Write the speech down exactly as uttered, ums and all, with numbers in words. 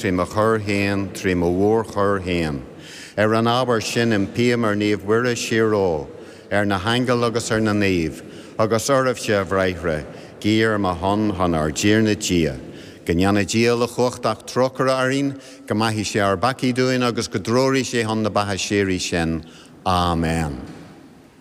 trí mo choir féin, trí mo mhórchoir féin. Ar an ábhar sin impím ar Naomh Mhuire Síorómh, ar na haingil agus ar na naoimh, agus oraibhse, a bhráithre, guí ar mo shon chun ár dTiarna Dia. Go ndéana Dia uilechumhachtach trócaire orainn, go maithí sé ár bpeacaí dúinn agus go dtreoraí sé chun na beatha síoraí sinn. Amen.